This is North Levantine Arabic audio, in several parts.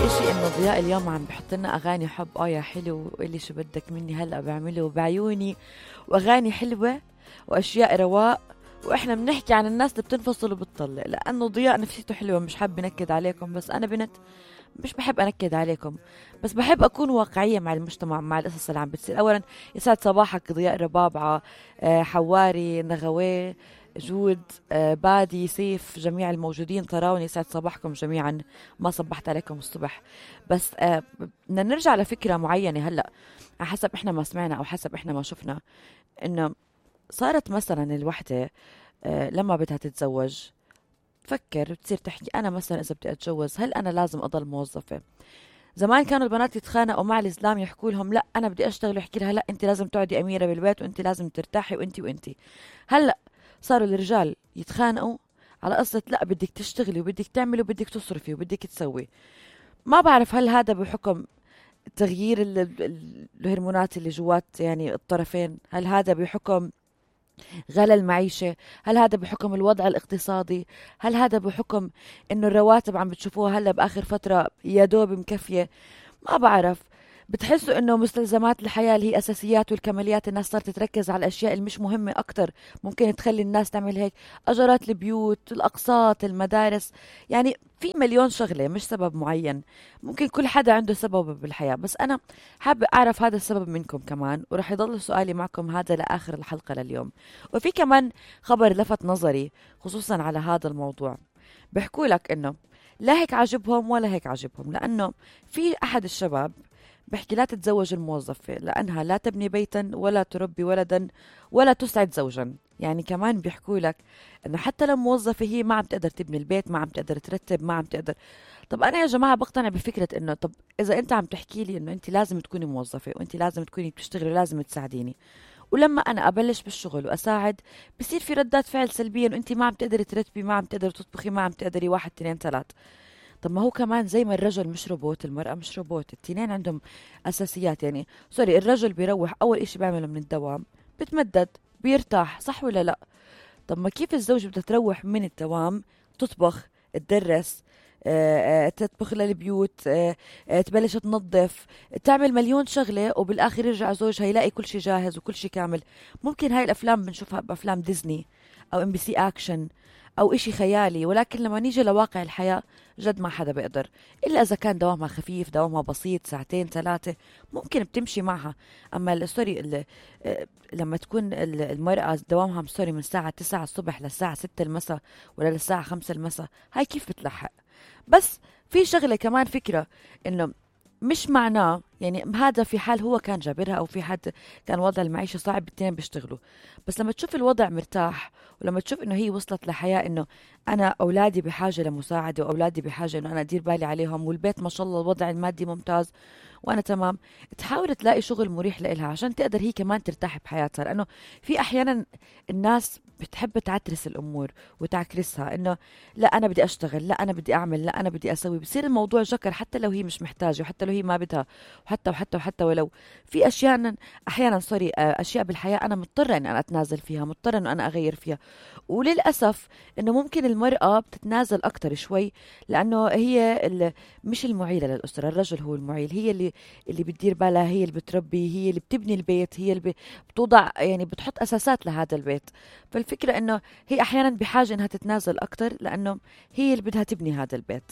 إشي إنه ضياء اليوم عم بحط لنا أغاني حب يا حلو وقلي شو بدك مني هلأ بعمله بعيوني، وأغاني حلوة وأشياء رواق. وإحنا بنحكي عن الناس اللي بتنفصل وبتطلق، لأنه ضياء نفسيته حلوة. مش حاب نكد عليكم، بس أنا بنت مش بحب أنكد عليكم، بس بحب أكون واقعية مع المجتمع، مع القصص اللي عم بتصير. أولا يسعد صباحك ضياء ربابعة، حواري، نغوي، جود، بادي، سيف، جميع الموجودين طراوني، يسعد صباحكم جميعا. ما صبحت عليكم الصبح، بس بدنا نرجع لفكرة معينة هلأ حسب إحنا ما سمعنا أو حسب إحنا ما شفنا. إنه صارت مثلا الوحدة لما بدها تتزوج تفكر بتصير تحكي أنا مثلا إذا بدي أتجوز هل أنا لازم أضل موظفة؟ زمان كانوا البنات يتخانقوا مع الإسلام يحكوا لهم لا أنا بدي أشتغل، يحكي لها لا أنت لازم تقعدي أميرة بالبيت وأنت لازم ترتاحي وأنت. هلأ صاروا الرجال يتخانقوا على قصة لا بدك تشتغلي وبدك تعملي وبدك تصرفي وبدك تسوي. ما بعرف هل هذا بحكم تغيير الهرمونات اللي جوات يعني الطرفين، هل هذا بحكم غلا المعيشة، هل هذا بحكم الوضع الاقتصادي، هل هذا بحكم انه الرواتب عم بتشوفوها هلا باخر فترة يا دوب مكفية. ما بعرف. بتحسوا انه مستلزمات الحياة اللي هي اساسيات والكماليات الناس صارت تركز على الاشياء اللي مش مهمة اكتر، ممكن تخلي الناس تعمل هيك. اجارات البيوت، الاقساط، المدارس، يعني في مليون شغلة مش سبب معين. ممكن كل حدا عنده سبب بالحياة، بس انا حابة اعرف هذا السبب منكم كمان، ورح يضل سؤالي معكم هذا لاخر الحلقة لليوم. وفي كمان خبر لفت نظري خصوصا على هذا الموضوع، بيحكوا لك انه لا هيك عجبهم ولا هيك عجبهم، لانه في احد الشباب بحكي لا تتزوج الموظفة لأنها لا تبني بيتا ولا تربي ولدا ولا تسعد زوجا. يعني كمان بيحكوا لك أنه حتى لو موظفة هي ما عم تقدر تبني البيت، ما عم تقدر ترتب، ما عم تقدر. طب أنا يا جماعة بقتنع بفكرة أنه طب إذا أنت عم تحكي لي أنه أنت لازم تكوني موظفة وأنت لازم تكوني بتشتغلي ولازم تساعديني، ولما أنا أبلش بالشغل وأساعد بصير في ردات فعل سلبية أنه أنت ما عم تقدري ترتبي، ما عم تقدري تطبخي، ما عم تقدري واحد اثنين ثلاث. طب ما هو كمان زي ما الرجل مش روبوت المرأة مش روبوت، التنين عندهم أساسيات. يعني سوري، الرجل بيروح أول إشي بيعمله من الدوام بتمدد بيرتاح، صح ولا لا؟ طب ما كيف الزوج بدها تروح من الدوام تطبخ، تدرس، تطبخ للبيوت، تبلش تنظف، تعمل مليون شغلة، وبالآخر يرجع زوجها يلاقي كل شيء جاهز وكل شيء كامل. ممكن هاي الأفلام بنشوفها بأفلام ديزني أو ام بي سي أكشن أو إشي خيالي، ولكن لما نيجي لواقع الحياة جد ما حدا بيقدر، إلا إذا كان دوامها خفيف، دوامها بسيط، ساعتين ثلاثة ممكن بتمشي معها. أما سوري لما تكون المرأة دوامها سوري من الساعة 9 الصبح للساعة 6 المساء ولا للساعة 5 المساء، هاي كيف بتلحق؟ بس في شغلة كمان فكرة إنه مش معناه يعني هذا في حال هو كان جابرها أو في حد كان وضع المعيشة صعب التنين بيشتغلوا، بس لما تشوف الوضع مرتاح ولما تشوف إنه هي وصلت لحياة إنه أنا أولادي بحاجة لمساعدة وأولادي بحاجة إنه أنا أدير بالي عليهم والبيت ما شاء الله الوضع المادي ممتاز وأنا تمام، تحاول تلاقي شغل مريح لإلها عشان تقدر هي كمان ترتاح بحياتها. لأنه في أحيانا الناس بتحب تعترس الأمور وتعكرسها، إنه لا أنا بدي أشتغل، لا أنا بدي أعمل، لا أنا بدي أسوي، بصير الموضوع جكر حتى لو هي مش محتاجة وحتى لو هي ما بدها، وحتى ولو في أشياء أحيانا سوري أشياء بالحياة أنا مضطرة إن أنا أتنازل فيها، مضطرة إنه أنا أغير فيها. وللأسف إنه ممكن المرأة بتتنازل أكتر شوي لأنه هي مش المعيلة للأسرة، الرجل هو المعيل، هي اللي بتدير بالها، هي اللي بتربي، هي اللي بتبني البيت، هي اللي بتوضع يعني بتحط أساسات لهذا البيت. فالفكرة إنه هي أحيانا بحاجة إنها تتنازل أكتر لأنه هي اللي بدها تبني هذا البيت.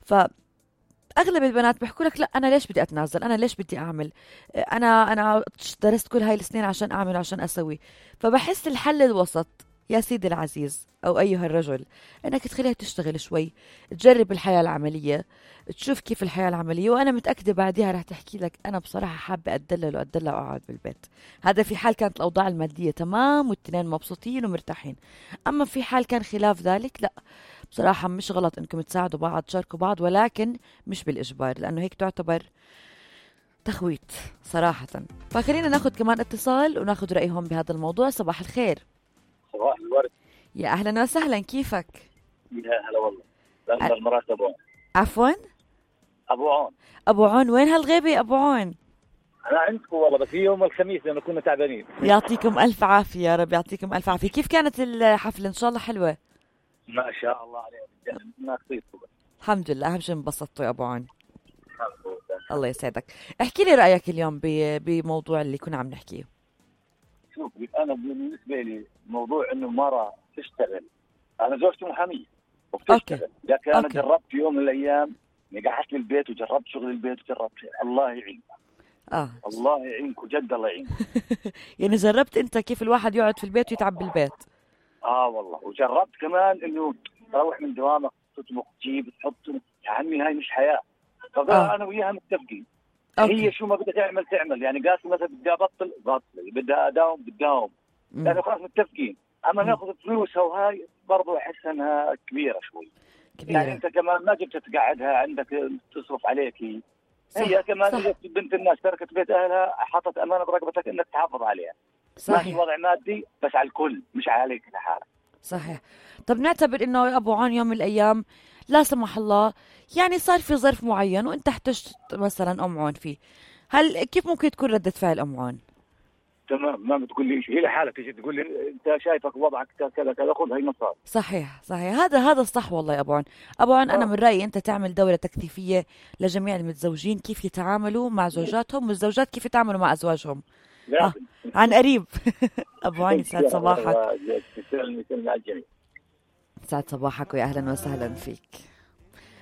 فأغلب البنات بيحكوا لك لا أنا ليش بدي أتنازل، أنا ليش بدي أعمل، أنا درست كل هاي السنين عشان أعمل عشان أسوي. فبحس الحل الوسط يا سيدي العزيز أو أيها الرجل أنك تخليها تشتغل شوي، تجرب الحياة العملية، تشوف كيف الحياة العملية، وأنا متأكدة بعدها رح تحكي لك أنا بصراحة حابة أتدلل وأقعد بالبيت. هذا في حال كانت الأوضاع المادية تمام والتنين مبسوطين ومرتاحين. أما في حال كان خلاف ذلك لا، بصراحة مش غلط أنكم تساعدوا بعض تشاركوا بعض، ولكن مش بالإجبار، لأنه هيك تعتبر تخويت صراحة. فخلينا ناخد كمان اتصال وناخد رأيهم بهذا الموضوع. صباح الخير. صباح الورد. يا أهلا وسهلا، كيفك؟ يا هلا والله. لما المرات أبو عون. عفوا؟ أبو عون. أبو عون، وين هالغيبة أبو عون؟ أنا عندكم والله، بس هي يوم الخميس لأنه كنا تعبانين. يعطيكم ألف عافية، يا رب يعطيكم ألف عافية. كيف كانت الحفلة؟ إن شاء الله حلوة. ما شاء الله عليها، الناس طيبة. الحمد لله، أهم شيء انبسطتوا يا أبو عون. الله يسعدك. احكي لي رأيك اليوم بموضوع اللي كنا عم نحكيه. شوف، انا بالنسبه لي موضوع انه المراه تشتغل، انا زوجتي محاميه وبتشتغل، لكن انا جربت في يوم من الايام قعدت بالبيت وجربت شغل البيت وجربت الله يعينك. الله يعينك وجد الله يعينك. يعني جربت انت كيف الواحد يقعد في البيت ويتعب بالبيت؟ والله، وجربت كمان انه تروح من دوامك تطبخ تجيب تحط، يا عمي هاي مش حياه. انا وياها متفقين. هي شو ما بدها تعمل، يعني قاسم مثلا بدها بطل بدها اداوم يعني خلاص متفقين. اما ناخذ فلوسها وهاي برضو احس انها كبيره شوي. يعني انت كمان ما جبت تقعدها عندك تصرف عليك. هي كمان بنت الناس تركت بيت اهلها، حطت امانه برقبتك انك تحافظ عليها. صحيح. وضع مادي بس على الكل مش عليك لحالك. صحيح. طب نعتبر انه يا ابو عون يوم من الايام لا سمح الله يعني صار في ظرف معين وانت احتجت مثلا ام عون فيه، هل كيف ممكن تكون ردة فعل ام عون؟ تمام، ما بتقول لي شيء، هي لحالك تيجي تقول لي انت شايفك وضعك كذا كذا، خذ هي مصاري. صحيح. هذا الصح والله يا ابو عون. انا من رايي انت تعمل دوره تكثيفيه لجميع المتزوجين كيف يتعاملوا مع زوجاتهم والزوجات كيف يتعاملوا مع ازواجهم عن قريب. ابو عون يسعد صباحك. يسلمك الجميع. يسعد صباحك ويا اهلا وسهلا فيك.